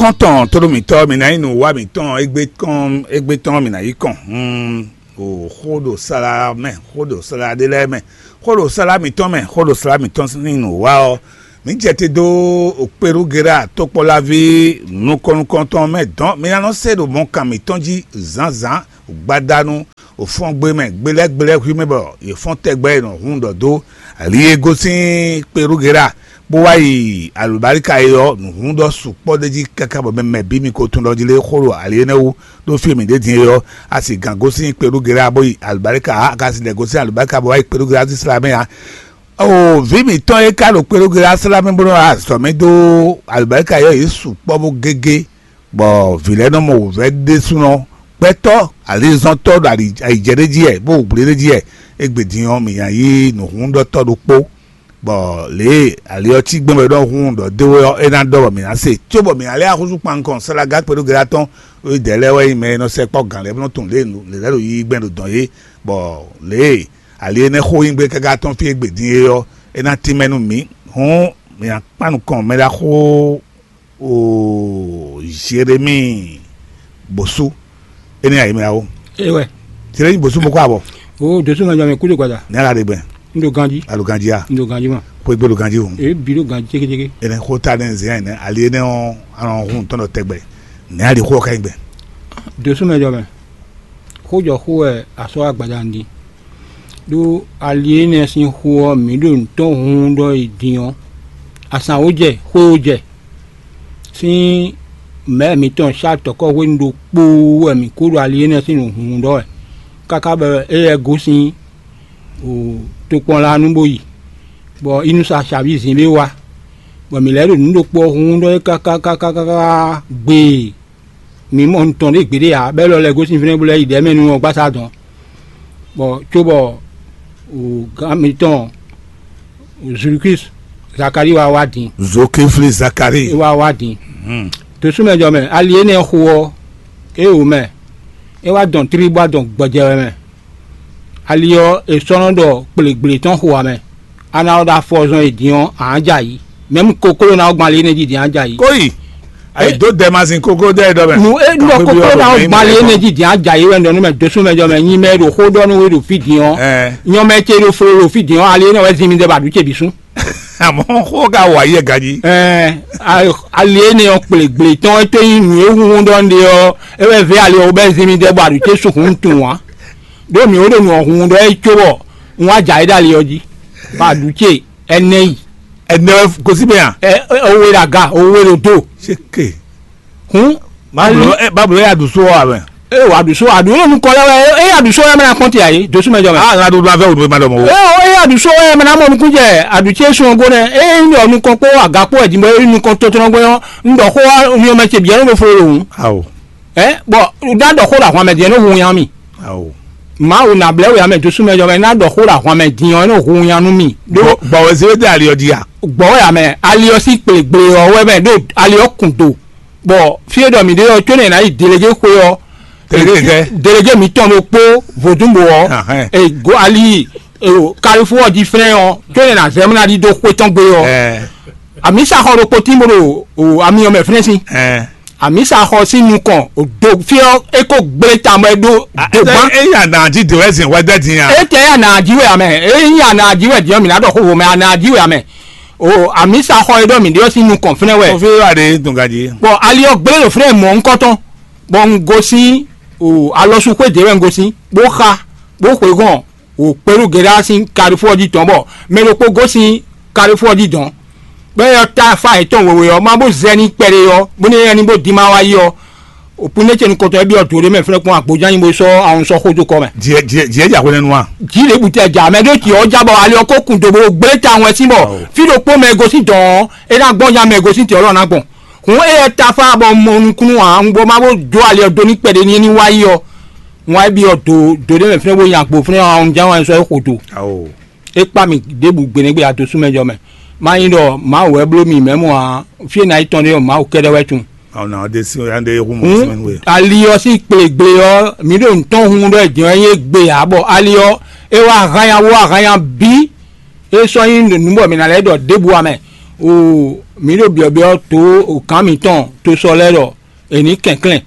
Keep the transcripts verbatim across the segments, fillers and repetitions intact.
Kɔntɔn tóɖó mǐtɔn, mǐ ná nyí nǔwa mǐtɔn égbé kɔn égbé tɔn mǐ ná yi kɔn. Hmm, o xó ɖo sala mɛ, xó ɖo sala ɖé lɛ́ɛ mɛ, xó ɖo sala mǐtɔn mɛ, xó ɖo sala mǐtɔn sín nǔwa ɔ́, mǐ jɛ te dó Okpelugera tokpɔ́laví nukɔn-nukɔntɔn mɛ dɔn. Mǐ ná nɔ se ɖo mɔkan mǐtɔn jí zǎnzǎn gbadanu, o fɔ́n gbe mɛ gbe lɛ́ɛ gbe lɛ́ɛ hwí mɛ bɔ yě fɔ́n tɛgbɛ e nɔ hun ɖɔ dó ali e gosín Kpelugera bó wá yi alǔbáríka é ɔ́, nǔhún ɖɔ sukpɔ́ ɖ'é jí káká bɔ mɛ mɛ bǐ mi ko tunwun ɖɔ jí lé xó ɖo ali énɛ́ wú. Ɖó fí e mǐ ɖe din é ɔ́, a si gǎn gosín Kpelugera bó yi alǔbáríka ǎ, a ka si lɛ̌ gosín alǔbáríka bó wá yi Kpelugera sísla mɛ ǎ. O vǐ mǐtɔn e ka ɖo Kpelugera slá mɛ bó nɔ́ wá azɔ̌ mɛ dó alǔbáríka é ɔ́, yě sukpɔ́ bó gégé, bɔ vǐ lɛ́ɛ nɔ mɔ wǔvɛ́ ɖésúnɔ. Gbɛtɔ́, alizɔ́ntɔ́ ɖo ali- ayǐjɛ ɖé jí wɛ, bó wǔgblé ɖé jí wɛ. Égbé din ɔ́, mǐ ná yí nǔhúnɖɔtɔ́ ɖokpó, bɔ lě e ali ɔ́ cí gbɛn bɔ é nɔ hun ɖɔ dó é ɔ́, é ná ɖɔ bɔ mǐ ná se, cóbɔ mǐ ná lɛ́ axúzú kpan nukɔn Salaga Kpelugera tɔn. Édɛɛ lɛ́ɛ wɛ nyí mɛ e nɔ sɛkpɔ́ gǎn lɛ́ɛ bó nɔ tunwun lě e nǔ lě lɛ́ɛ ɖo yiyi gbɛn ɖo dɔn é, bɔ lě e ali énɛ́ xó nyí gbe káká tɔ́n fí égbé din é ɔ́, é ná tínmɛ nú mǐ. Hǔn mǐ ná kpan nukɔn mɛɖaxó o Jeremíi Bosú. É ní ayǐ mɛ awo. É wɛ. Jeremíi Bosú mo kó abɔ. O dosu ma jɔ mi kúlò gbada. Ní ala ɖe gbɛ. N ɖo ganji. Alo ganji a. N ɖo ganji ma. Xwé gbé ɖo ganji hǔn. E bi ɖo ganji cékécéké. Énɛ́ xó ta nɛ zɛn nɛ ali énɛ́ ɔ́ alɔn hun tɔn ɖɔ tɛgbɛ. Ní ali xó ɔ́ ka nyí gbɛ. Dosu mɛ jɔ mɛ. Xó jɔ xó wɛ asɔ agbada n ɖi. Ɖó ali énɛ́ sín xó ɔ́, mǐ ɖo nǔtɔn hun ɖɔ yi din ɔ́, azǎn wó jɛ, xwé wó jɛ. Sín mɛ̌ mǐtɔn Saltɔkɔ́ hwenu ɖokpó wɛ mǐ kó ɖo ali énɛ́ sín nǔhún ɖɔ wɛ, káká bɔ é lɛ́ gosín tokpɔnla nu bó yi, bɔ Inusa Savízin ɖé wá, bɔ mǐ lɛ́ ɖo nǔ ɖokpó ɔ́ hun ɖɔ é káká káká káká gbee. Mǐ mɔ nutɔn ɖé gbeɖé ǎ, bɔ é lɔ lɛ́ gosín fínɛ́ bó lɛ́ yi ɖɛ̌ mɛ nú ɔ́ gbasá dɔn. Bɔ cóbɔ gǎn mǐtɔn Zulukísi Zakalíi wá wá din. Zokifli Zakalíi. É wá wá din. Tosúmɛ jɔ mɛ, ali énɛ́ xo ɔ́, é wǒ mɛ, é wá dɔn tlí bó wá dɔn gbɔjɛ wɛ mɛ. Ali ɔ́, è sɔ́ nɔ ɖɔ kplegbletɔ́n xo ǎ mɛ. A ná ɔ́ ɖo afɔ zɔn e din ɔ́, ǎ jɛ ayǐ. Mɛ̌mu kokló ná ɔ́ gbɔn ali énɛ́ jí din ǎ jɛ ayǐ. Kóyi, ayi dó dɛ ma sin kokló dɛ ɖɔ mɛ. Nu e ɖɔ kokló ná ɔ́ gbɔn ali énɛ́ jí din ǎ jɛ ayǐ wɛ un ɖɔ nú mɛ dosú mɛ jɔ mɛ nyi mɛ e ɖo xó ɖɔ nú we ɖo fí din ɔ́. Nyɔ mɛ ce ɖo flo ɖo fí din ɔ́, ali énɛ́ wɛ zin mi ɖɛ bɔ aɖu ce bǐ sú. Àmọ́ xó ka wɔ ayé ganjí. Ɛɛ, ali énɛ́ ɔ́ kplegbletɔ́n é tó nyí nǔ e hun ɖɔ un ɖe ɔ́, é wɛ vɛ́ ali ɔ́ bɛ zin mi ɖɛ bɔ aɖu ce sú hun tunwun ǎ. Ɖó mǐ wo ɖo nǔ ɔ́ hun ɖɔ é cóbɔ un wá jǎ é ɖo ali ɔ́ jí, bɔ aɖu ce ɛnɛ yi. Ɛnɛ wɛ gosí mɛ a? Ɛ ɛ, owe ɖo aga, owe ɖo do. Seke. Hun. Bablo ɛ bablo ɛ aɖu so wɔ abɛ. Ee, wɔ aɖu so, aɖu yɛ nukɔ lɛ wɛ, eye aɖu so wɛ mɛ na kpɔn ti ayi, dosu mɛ jɔ mɛ. A ŋa ɖo ɖo avɛ wòɖo ma ɖɔ mɔ wo. Ee, eye aɖu so wɛ mɛ na mɔ nukun jɛ aɖu ce sun go nɛ, eye n ɖɔ nukɔn kpó aga kpó ɛdinbɔ eye nukɔn tɔtɔnɔ gbɛ yɔ, n ɖɔ xó wa nyɔ mɛ ce biɛ nɔ fo lo hun. Awo. Ɛ bɔn n da ɖɔ xó ɖo ahwan mɛ diɛ nɔ hu nya mi. Awo. Mawu na blɛ wɛ amɛ dosu mɛ jɔ mɛ na ɖɔ xó ɖo ahwan mɛ din ɔ nɔ hu nya nú mi. Ɖó gbɔ wɛ zéwé de ali ɔ di a? Gbɔ wɛ amɛ ali ɔ si kple gble ɔ wɛ mɛ ɖó ali ɔ kun do. Bɔ fí e ɖɔ mǐ ɖe ɔ́, có nɛ ná yi delege xwe ɔ́, delege mǐtɔn ɖokpó vodúnbò ɔ́, e go ali kalifu ɔ́ jí flɛ́n ɔ́, có nɛ ná zɛ mɔ ná ɖi dó xwe tɔn gbe ɔ́. Amǐsa xɔ ɖokpó tín bó ɖo ami ɔ́ mɛ flɛ́n sín. Amǐsa xɔ sín nukɔn do fí ɔ́, é kó gblé ta mɔ é ɖó do gbán. Eyi ana jí de wɛ zin wɛ dɛ din a? Etɛ ya na jí wɛ amɛ, eyi ana jí wɛ din ɔ́, mǐ ná ɖɔ xó wò mɛ ana jí wɛ amɛ. O amǐsa xɔ e ɖɔ mǐ ɖe ɔ́ sín nukɔn fínɛ́ wɛ. Xɔfí wà ɖe dùn gàjí. Bɔn ali ɔ́ gblé ɖo fínɛ́ mɔ̌hunkɔtɔn, bɔ un gosín o alɔsu xwé dě wɛ un gosín, bó xa, bó xweyǐgɔn o kpelú Geda sín Kalifɔ́ɔ jí tɔn, bɔ mɛ ɖokpó gosín Kalifɔ́ɔ jí dɔn, bɔ é ɔ́ ta fá yětɔn wěwé ɔ́, ma bó zɛ ní kpɛɖé ɔ́, bónú éyɛ́ ní bó dín má wá yi ɔ́, Òpin ce nukɔntɔn e byɔ́ do ɖé mɛ flɛ́kpɔ́n agbojá nyi bo sɔ́ awun sɔ́ xó dó kɔ mɛ. Jìɛ jìɛ jìɛ jà hwenɛ́nu a? Jǐ ɖěbǔ tɛ jà mɛ ɖó jǐ ɔ́ já bɔ ali ɔ́ ko kun do bo gblé tawun wɛ sín bɔ fí ɖokpó mɛ e gosín dɔ̌n ɔ́, é ná gbɔn nya mɛ e gosín tě ɔ́ lɔ ná gbɔn. Hǔn éyɛ́ tafa bɔ mɔ nukúnnú ǎ, un bo má bó dó ali ɔ́ dó ní kpɛɖé ní é ní wá yi ɔ́, un wá yi byɔ́ do do ɖé mɛ fínɛ́ bó nyi agbo fínɛ́ ɔ́, awun ján wɛ sɔ́ é xo do. É kpá mì ɖěbǔ gbeɖégbé adosú mɛ jɔ mɛ. Má nyí ɖɔ Mawu wɛ bló mì mɛ̌ mɔ ǎ, fí e ná yi tɔn ɖe ɔ́, Mawu kɛ́ɖɛ́ wɛ tunwun. Awo na ɔde si ya de hu mɔ sɛmɛ nue. Ali ɔ́ sín kplegble ɔ́, mǐ ɖo nǔtɔn hun ɖɔ jɔ̌n ɛ nyí gbe ǎ, bɔ ali ɔ́, é wá hánnya wó wá hánnya bí. É sɔ́ nyí nǔ bɔ mǐ ná lɛ́ ɖɔ ɖěbǔ ǎ mɛ. O, mǐ ɖo byɔ̌byɔ́ dó gǎn mǐtɔn tosɔ lɛ́ɛ ɖɔ è nǐ kɛnklɛ́n,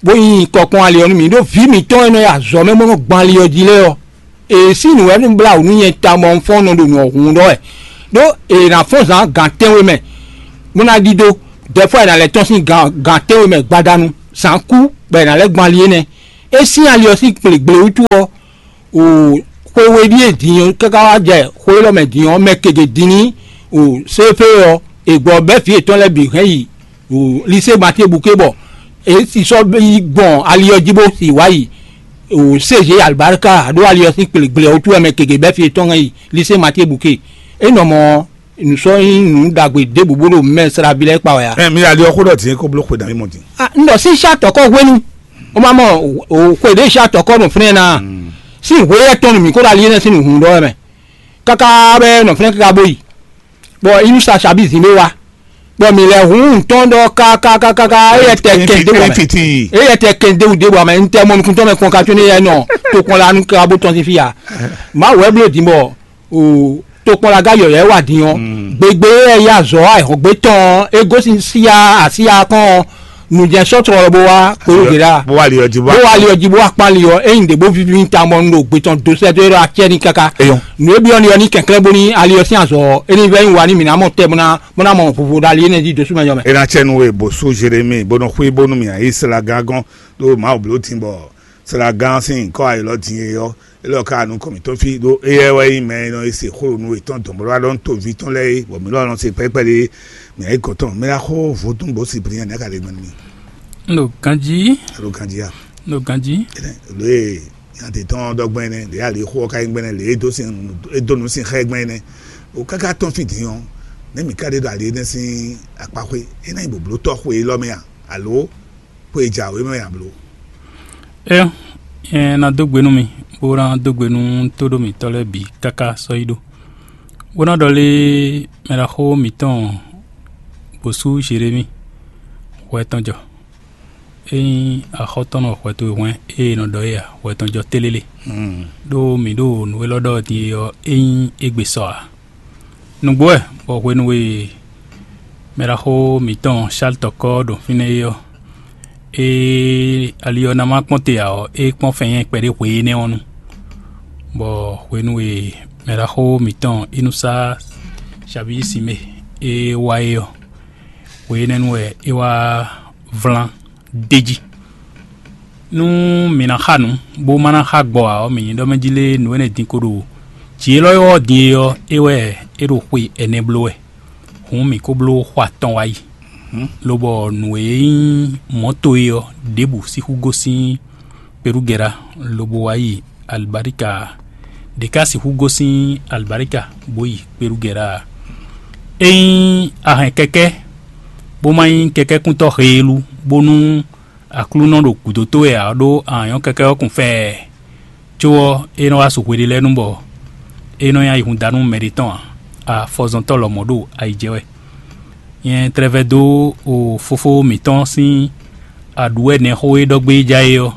bó nyi kɔ kpɔ́n ali ɔ́ nú mǐ, ɖó vǐ mǐtɔn e nɔ yi azɔ̌ mɛ bó nɔ gbɔn ali ɔ́ jí lɛ́ɛ ɔ́, è sín nǔ wɛ nú blá wǔ nú nyɛ tawun bɔ un fɔ́n nɔ ɖo nǔ ɔ́ hun ɖɔ wɛ, ɖó è nǎ fɔ́n zǎn gǎn tɛ́nwe mɛ, bó ná ɖidó, dɛ̌fɔ è nǎ lɛ́ tɔ́n sín gǎn gǎn tɛ́nwe mɛ gbadanu, zǎn kú, bɔ è nǎ lɛ́ gbɔn ali énɛ́. É sín ali ɔ́ sín kplěgblé wútu ɔ́, o, xwe we ɖíe din ɔ́, káká wá jɛ xwe élɔ́ mɛ din ɔ́, mɛ gěgé din ní, o, séfé ɔ́, è gbɔ bɛ́ vǐ yětɔn lɛ́ɛ bǐ hɛn yi, o, lisée Matíe Bukée bɔ é si sɔ́ yi gbɔn ali ɔ́ jí bó si wá yi, o, sézé alibarika ɖó ali ɔ́ sín kplěgblé ɔ́ wútu wɛ mɛ gěgé bɛ́ vǐ yětɔn hɛn yi lisée Matíe Bukée. É nɔ mɔ nǔ sɔ́ nyí nǔ ɖagbe ɖěbǔ bó ɖo mɛ slábí lɛ́ɛ kpa wɛ ǎ. Ɛ, mi ali ɔ́ xó ɖɔ din é kó bló xwe nǎ mɔ din. Ah, un ɖɔ sín sá tɔ̌kɔ hwenu, ó má mɔ o xwe ɖě sá tɔ̌kɔ nɔ fínɛ́ ná. Sín hwe yɛ tɔn nú mǐ kó ɖo ali énɛ́ sín nǔhún ɖɔ wɛ mɛ. Káká bɛ́ nɔ fínɛ́ káká bó yi, bɔ inú sa sabí zǐn ɖé wá, bɔ mǐ lɛ́ hun ntɔn ɖɔ kákákákáká, éyɛ tɛ kɛn dé wá mɛ. Éyɛ tɛ kɛn dé wú dé wá mɛ, un tɛ mɔ nukúntɔn mɛ kpɔn ká có ní yɛ nɔ tokpɔn la nú káká bó tɔn sín fí ya. Má wɛ bló din bɔ o tokpɔnlagá yɔ̌yɔ́ e wa din ɔ́, gbegbe e yɛ azɔ̌ ayǐhɔ́ngbe tɔn ɔ́, é gosín síyá asíyá kɔn ɔ́, nǔjɛ́n sɔ́ tlɔlɔ bó wá kpéwúgbe ɖá, bó wá ali ɔ́ jí bó bó wá ali ɔ́ jí bó wá kpán ali ɔ́, ényí ɖě bó víví ta mɔ un ɖo gbe tɔn dó sɛ́ dó é ɖɔ acɛ ní káká. Eyɔn. Nǔ e byɔ́ ni ɔ́ ní kɛnklɛ́n bóní ali ɔ́ sín azɔ̌ ɔ́, é ní vɛ́ nyi wa ní mǐ ná mɔ tɛ bó ná bó ná mɔ vovo ɖo ali énɛ́ jí dó sú mɛ jɔ mɛ. É ná cɛ nú we bó sú Zerémi bó nɔ xwí bónú mǐ ná yí Slagán gɔ́n ɖó Mawu bló din bɔ Slagán sín nyǐkɔ ayǐlɔ din e ɔ́, é lɔ ka nukɔn mǐtɔn fí ɖó éyɛ́ wɛ nyí mɛ e nɔ yi se xó ɖo nú yětɔn dɔ̌n bó wá ɖɔ nú toví tɔn lɛ́ɛ é, bɔ mǐ lɔ nɔ se kpɛ́kpɛ́ ɖé mǐ yí gɔ̌n tɔn. Mɛ ná xó vodún bó si brin nya ká ɖe gbɔn nú mì. Un ɖo ganjí. Alo ganjí a? Un ɖo ganjí. Lě e nya te tɔn ɖɔ gbɛn nɛ, lě e ali xó ɔ́ ka nyí gbɛn nɛ, lě e dó sin e dó nǔ sin xá ɛ gbɛn nɛ. O káká tɔn fí din ɔ́, nɛ̌ mǐ ka ɖe ɖo ali énɛ́ sín akpa xwé? É ná nyí bòblótɔ́ xwe élɔ́ mɛ a? Alo xwe e jǎwe mɛ a bló? É, nyɛ ná dó gbe nú mi, bó ná dó gbe nú tóɖó mǐtɔn lɛ́ɛ bǐ káká sɔ́ yi ɖó, bó ná ɖɔ lé mɛɖaxó mǐtɔn bǒsú Zerémi hwɛ tɔn jɔ. É nyí axɔ́tɔ́nɔ hwɛ towe hwɛ́n ée è nɔ ɖɔ é ǎ, hwɛ tɔn jɔ télélé. Ɖó mǐ ɖo nǔ élɔ́ ɖɔ din e ɔ́, é nyí égbé sɔ ǎ. Nǔgbó wɛ bɔ hwenu e mɛɖaxó mǐtɔn Sáltɔkɔ ɖo fínɛ́ é ɔ́, é ali ɔ́ ná má kpɔ́n te ǎ ɔ́, é kpɔ́n fɛnnyɛ́ kpɛɖé hwe énɛ́ ɔ́ nu, bɔ hwenu e mɛɖaxó mǐtɔn Inúsá Sabíyísimɛ é wá é ɔ́, hwe énɛ́ nu wɛ é wá vlan d'é jí. Nú mǐ ná xa nǔ, bó ma ná xa gbɔ ǎ ɔ́, mǐ ní ɖɔ mɛ jí lé nǔ énɛ́ din ko ɖo jǐ élɔ́ ɔ́ din é ɔ́, é wɛ é ɖo xwe ɛnɛ bló wɛ. Hǔn mǐ ko bló xɔ atɔn wá yi, lobɔ nǔ e nyí mɔ̌to é ɔ́, ɖěbǔ sixú gosín Perugera lobo wá yi Alibarika ǎ. Ɖě ka sixú gosín Alibarika bó yi Perugera ǎ. Ényí a hɛn kɛkɛ́, bó ma nyí kɛkɛ́kúntɔ́ heelú, bónú Aklúnɔ ɖo gǔdo towe ǎ, ɖó a nyɔ́ kɛkɛ́ ɔ́ kun fɛɛ, có ɔ́, é nɔ wá su hweɖé lɛ́ɛ nu bɔ é nɔ nyi ayihúndánú mɛɖé tɔn ǎ. Afɔzɔntɔ́ lɔmɔ̌ ɖo ayi jɛ wɛ. Nyɛ tlɛ vɛdó o fófó mǐtɔn sín aɖǔ wɛ nɛxó e ɖɔ gbé ja é ɔ́,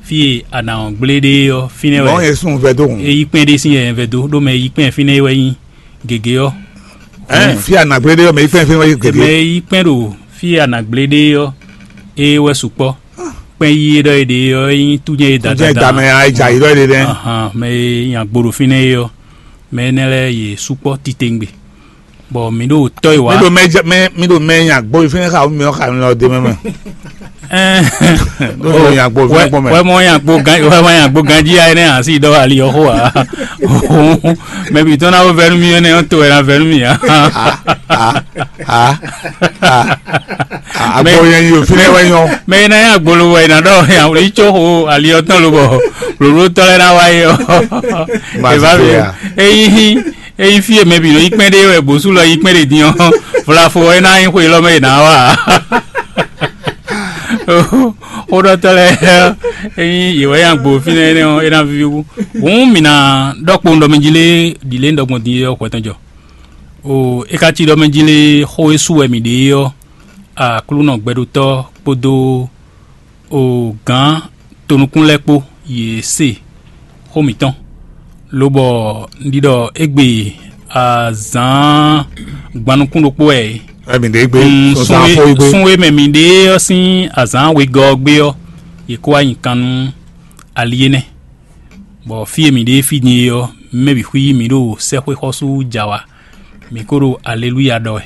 fí e a nǎ ɔ́ gblé ɖe é ɔ́, fínɛ́ wɛ Bɔn yɛ sun vɛdó hùn. É yí kpɛ́n ɖé sín yɛ vɛdó, ɖó mɛ e yí kpɛ́n fínɛ́ é wɛ nyí gěgé ɔ́. Ɛn fí a nǎ gblé ɖé ɔ́, mɛ yí kpɛ́n fínɛ́ wɛ yí gěgé. Mɛ e yí kpɛ́n ɖo fí e a nǎ gblé ɖe é ɔ́, é wɛ sukpɔ́. Kpɛ́n yí e ɖɔ é ɖe ɔ́, é nyí túnyɛ e da Jẹ́ da ìdámẹ́ ayíjà yìí lọ́ọ́ lé dɛn. Ahan, mɛ e nya gbo ɖo fínɛ́ é ɔ́, mɛ énɛ́ lɛ́ɛ yě sukpɔ́ titewungbe. Bɔ mǐ ɖo tɔ́ yi wá. Mi ɖo mɛ jɛ- mɛ mi ɖo mɛ nya gbɔ yi fɛn xa mi ɔ xa mi lɔ de mɛ mɛ. Ɛn, Ɖo mɛ nya gbɔ fɛn kpɔ mɛ. Wɛ mɔ nya gbo gan wɛ mɔ nya gbo ganjí ya énɛ́ asi dɔ ali ɔxo a. Mɛ bǐ tɔn ná wɛ vɛnu mi énɛ́ ɔ́ to wɛ ná vɛnu mi a. Ah, ah, ah, ah. Agbo yẹn yi òfin lɛ wɛ yọ. Mɛ yi ná yá gbolo wɛ ná ɖɔ yàn wòlí tso xo ali ɔtɔn lobɔ lòlótɔ lɛ ná wá yi ɔ. Eba fi ya. Eyi eyi fi yɛ mɛ bi lɔ yi kpɛn ɖe wɛ bosu lɔ yi kpɛn ɖe din ɔ. Vlafo ɛ ná yi xwe lɔ mɛ yi ná wa. Xóɖɔtɔ lɛ eyi yewɛ yàn gbo fi nɛ ɔ ena vivi wu. Hǔn mǐ ná ɖɔ kpowun ɖɔ mɛ jí lé ɖi lé ń ɖɔ gbɔn din ɔ xwɛ tɔn jɔ. O é ka cí ɖɔ mɛ jí lé xó e su wɛ mǐ ɖe é ɔ́, Aklúnɔ gbɛɖotɔ́ kpódó o gǎn tonukún lɛ́ɛ kpó yě se xó mǐtɔn, lobɔ un ɖi ɖɔ égbé azǎn gbannukún ɖokpó wɛ é. Ɛ mi ɖe gbé. Mm, sɔsɔ sunwe afɔ yi gbé. Sunwe mɛ mi ɖe ɔ́ sín azǎn wegɔ́ ɔ́ gbé ɔ́, yě kó wá nyi kan nú ali énɛ́. Bɔ fí e mǐ ɖe fí din é ɔ́, mɛ bǐ xwí mǐ ɖo sɛ́xwé xɔ́sú ja wá, mǐ ko ɖo aleluya ɖɔ wɛ.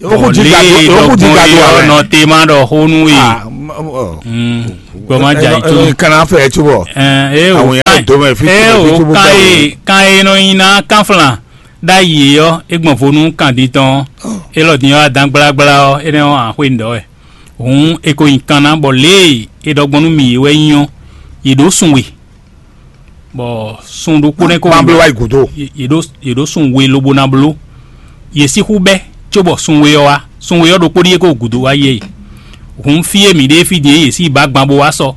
Yòókù jí gado, yòókù jí gado wɛ. Nɔ te ma ɖɔ xó nú we. Gbɔ ma ja yi tó. Kana fɛ tu bɔ. Ɛ ɛ o Àwọn yẹn kan tó mɛ fi ɛ tó o tó bó kan bá e kan e nɔ nyi na kanflan ɖ'ayǐ é ɔ́, é gbɔn vo nú kan din tɔn. Élɔ́ din ɔ́, adán gblágbla ɔ́, énɛ́ ɔ́, an xwé nǔ ɖɔ wɛ. Hǔn è ko nyi kan ná bɔ lě e è ɖɔ gbɔn nú mì é wɛ nyí ɔ́, yě ɖǒ sun we, bɔ sun ɖokpó nɛ́ ko Kpán bló wá yi gǔdo. Yě ɖǒ yě ɖǒ sun we lobo ná bló. Yě sixú bɛ́ cóbɔ sun we ɔ́ wá. Sun we ɔ́ ɖokpó ɖíe ko gǔdo wá yi é. Hǔn fí e mǐ ɖe fí din é, yě sí ba gban bó wá sɔ,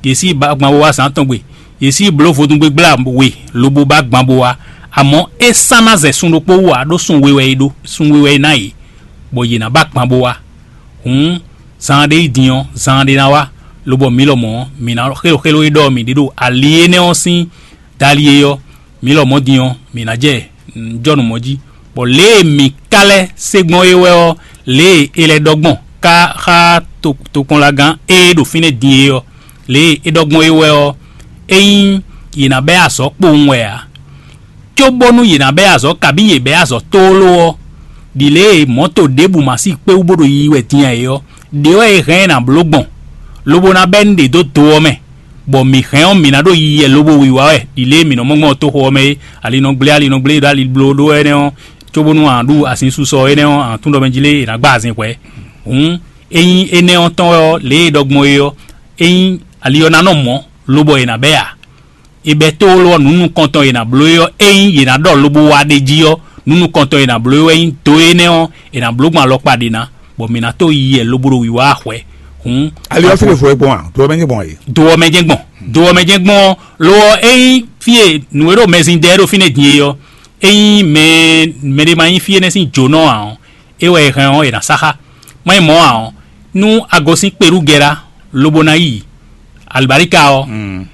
yě sí ba gban bó wá zǎn tɔn gbe, yě sí bló vodúngbégbla we lobo ba gban bó wá. Amɔ̌ é sán ná zɛ sun ɖokpó wú ǎ, ɖó sun we wɛ é ɖó, sun we wɛ é ná yě, bɔ yě ná ba gban bó wá. Hǔn, zan ɖé yi din ɔ́, zan ɖé ná wá, lobɔ mǐ lɔmɔ̌ ɔ́, mǐ ná xélo xélo e ɖɔ mǐ ɖe ɖo ali énɛ́ ɔ́ sín dali é ɔ́, mǐ lɔmɔ̌ din ɔ́, mǐ ná jɛ jɔ́nǔ mɔ̌ jí, bɔ lě e mǐ ka lɛ́ se gbɔn é wɛ ɔ́, lě e è lɛ́ ɖɔ gbɔn ká xá tokpɔnlagán e ɖo fínɛ́ din é ɔ́, lě e é ɖɔ gbɔn é wɛ ɔ́, ényí yě ná bɛ́ azɔ̌ kpowun wɛ ǎ, cóbónú yě ná bɛ́ azɔ̌ kabí yě bɛ́ azɔ̌ tlóló ɔ́, ɖi lě e mɔ̌to ɖěbǔ ma sí kpé wú bó ɖo yiyi wɛ din ǎ é ɔ́, ɖě wɛ è hɛn ɛ nǎ bló gbɔn, lobo ná bɛ́ nǔ ɖě dó do ɔ́ mɛ, bɔ mǐ hɛn ɔ́, mǐ ná ɖo yiyi wɛ lobo wiwa wɛ, ɖi lě e mǐ nɔ mɔ gbɔn toxo ɔ́ mɛ é. Ali nɔ gblé, ali nɔ gblé, ɖo ali bló ɖó énɛ́ ɔ́, cóbónú a nǎ ɖu asin susɔ énɛ́ ɔ́, a nǎ tunwun ɖɔ mɛ jí lé è nǎ gba azin hwɛ̌. Hǔn, ényí énɛ́ ɔ́ tɔn wɛ ɔ́, lě e è ɖɔ gbɔn é ɔ́, ényí ali ɔ́ ná nɔ mɔ̌, lobɔ è nǎ bɛ́ ǎ. È bɛ́ tlóló ɔ́, nǔ nukɔntɔn e è nǎ bló é ɔ́, ényí yě ná ɖɔ lobo wá ɖ'é jí ɔ́, nǔ nukɔntɔn e è nǎ bló é wɛ nyí do énɛ́ ɔ́, è nǎ bló gbɔn alɔkpa ɖě ná, bɔ mǐ ná tó yi yɛ lobo ɖo wǐwá wɛ hwɛ̌. Hǔn, Ali ɔ́ sín lě fo é gbɔn a? Do ɔ́ mɛ nyí gbɔn a yě? Do ɔ́ mɛ jɛ́n gbɔn. Do ɔ́ mɛ jɛ́n gbɔn ɔ́, lo ɔ́, ényí fí e nǔ e ɖo mɛzin ɖɛ ɖo fínɛ́ din é ɔ́, ényí mɛ mɛɖé ma nyí fí énɛ́ sín jǒnɔ ǎ ɔ́, é wɛ è hɛn ɔ́, è nǎ sá xá. Má nyí mɔ̌ ǎ ɔ́, nú a gosín kpelúgɛ́ɖá, lobo ná yi alibarika ɔ́,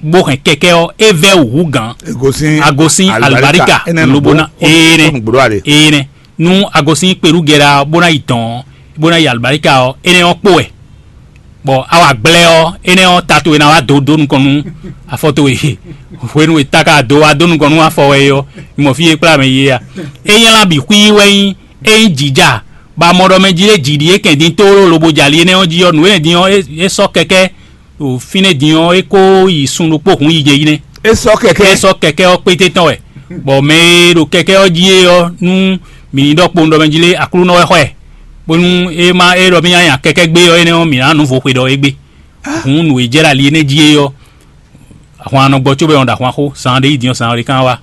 bó hɛn kɛkɛ ɔ́, é vɛ́ wǔ hú gǎn. Agosín alibarika, lobo ná énɛ́ énɛ́. Nú a gosín kpelúgɛ́ɖá ɔ́, bó ná yi dɔ̌n ɔ́, bó ná yi alibarika ɔ́, énɛ́ ɔ́ kpó wɛ. Bɔ a wa gblɛ́ ɔ́, énɛ́ ɔ́, ta towe ná wá dó dó nukɔn nú afɔ towe. Hwenu e ta ka dó wá dó nukɔn nú afɔ wɛ é ɔ́, mi mɔ fí e kplá mɛ yi é a? É nylá bǐ xwíí wɛ nyí, ényí jǐ ja, bɔ a mɔ ɖɔ mɛ jí lé jǐ ɖíe kɛn din tlóló lobo jɛ ali énɛ́ ɔ́ jí ɔ́, nǔ énɛ́ din ɔ́, é sɔ́ kɛkɛ́ ɖo fínɛ́ din ɔ́, é ko yi sun ɖokpó hǔn yi jɛ yi nɛ́. É sɔ́ kɛkɛ́. É sɔ́ kɛkɛ́ ɔ́ kpété tɔn wɛ, bɔ mɛ e ɖo kɛkɛ́ ɔ́ jí é ɔ́, nú mǐ ní ɖɔ kpowun ɖɔ mɛ jí lé Aklúnɔ wɛ xɔ ɛ, bónú é má é ɖɔ mì nya nya kɛkɛ́ gbé ɔ́, énɛ́ ɔ́, mǐ ná nǔ vo xwe ɖɔ é gbé. Hǔn nǔ e jɛ ɖo ali énɛ́ jí é ɔ́, ahwan nɔ gbɔ cóbɔ è nɔ ɖo ahwan xó, zan ɖé yi din ɔ́, zan ɖé kán wá.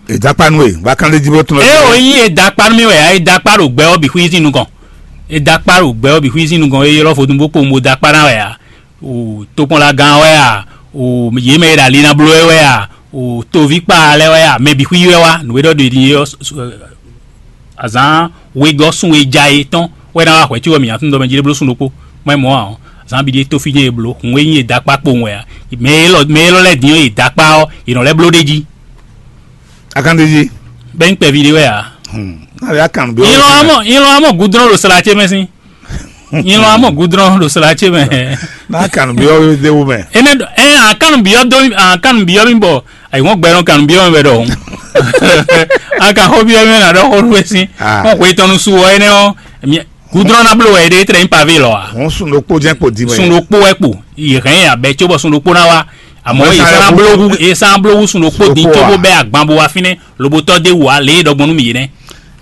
Èdàkpá nú e, wá kán lé jí bó tún lọ. É o yí èdàkpá nú mì wɛ ǎ, èdàkpá ɖo gbɛ ɔ́ bǐ xwí sín nukɔn. Èdàkpá ɖo gbɛ ɔ́ bǐ xwí sín nukɔn, é ylɔ́ vodún bó kpowun bó dó akpá ná wɛ ǎ. O tokpɔnlagán wɛ a, o yě mɛ e ɖo ali ná bló wɛ wɛ a, o toví kpa lɛ́ɛ wɛ a, mɛ bǐ xwí wɛ wá, nǔ e ɖɔ ɖe ɖi ɔ́, azǎn wegɔ́ sun e ja é tɔn wɛ ná wá hwɛ̌ cóbɔ mǐ nya tún ɖɔ mɛ jí ɖé bló sun ɖokpó. Mɔ é mɔ̌ ǎ ɔ́, azǎn bǐ ɖíe tófíjɛ́n e bló, hǔn e nyí e dó akpá kpowun wɛ ǎ. Mɛ élɔ́ mɛ élɔ́ lɛ́ɛ din ɔ́, e dó akpá ɔ́, è nɔ lɛ́ bló ɖ'é jí. Akándeji. Bɛ́ nyí kpɛví ɖé wɛ ǎ. Náà lè akàn bí Nyilɔn amɔ nyilɔn amɔ gudrɔn ɖo sla ce mɛ sín. Nyilɔn amɔ gudrɔn ɖo sla ce mɛ. Náà kàn bí ɔ́ dé wú mɛ. Ene ɛ akan biɔ do akan biɔ mi bɔ ayi wọn gbɛ nɔ kan biɔ mi bɛ dɔ. Aka xɔ biɔ mi na dɔ xɔ nu esi. Wọn xɔ etɔn nu su wɔ ene ɔ. Gudrɔn na blo wɛ ɖe trɛ nyi pavé lɔ a. Wọn sun ɖokpó jẹ́ kpo di mɛ. Sun ɖokpó wɛ kpo. Yi hɛn ya bɛ tso bɔ sun ɖokpó na wa. Àmọ́ yìí sàn blowu yìí sàn blowu sun ɖokpó di tso bó bɛ agban bó wa fínɛ lobotɔ de wà lé dɔgbɔn nú mi yìí nɛ.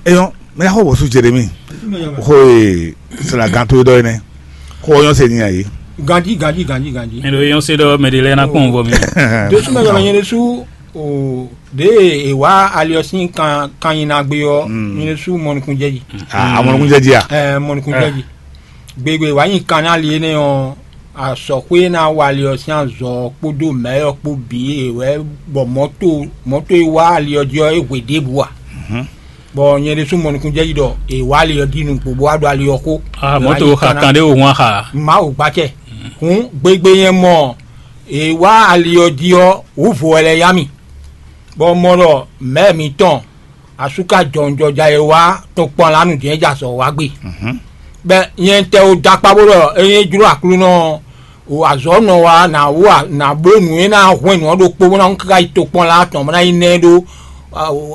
Eyɔn, mɛ xɔ wòsu Jeremi. Xɔ ye sinagan to dɔ ne. Xɔ yɔn se ni ayi. Ganji ganji ganji ganji. Mɛ ɖo yɔn se ɖɔ mɛ ɖe lɛ na kpɔn vɔ mi. Dosu mɛ yɔrɔ nyɛ ɖesu o de e wa ali ɔ sin kan kan yin na gbe ɔ nyɛ ɖesu mɔnukun jɛ ji. Ah, amɔnukun jɛ ji a. Ɛ mɔnukun jɛ ji. Gbegbe wa yin kan na ali ene ɔ asɔxwe na wa ali ɔ sin azɔ kpodo mɛ yɔ kpo bi e wɛ bɔ mɔto mɔto e wa ali ɔ ji ɔ e hwe ɖebu a. Bɔ nyɛ ɖésú mɔ nukúnjɛ́ yi ɖɔ è wá ali ɔ́ ɖi nukpo bó wá ɖo ali ɔ́ xó. Ah, mɔ̌ to xa kan ɖé wò hwan xa. Mawu gbacɛ. Hǔn gbegbe nyɛ mɔ è wá ali ɔ́ jí ɔ́, wǔ vo wɛ lɛ́ yá mì, bɔ mɔ ɖɔ mɛ̌ mǐtɔn asúka jɔnjɔja e wá tɔn kpɔn lanu jɛn jɛ azɔ wá gbe. Bɛ nyɛ tɛ o dakpa bó ɖɔ ényí jló Aklúnɔ o azɔ̌ nɔ wá nǎ wú nǎ bló nǔ e ná hwɛn nǔ ɔ́ ɖokpó bó ná káká yi tokpɔn lá tɔn bó ná yi nɛ ɖó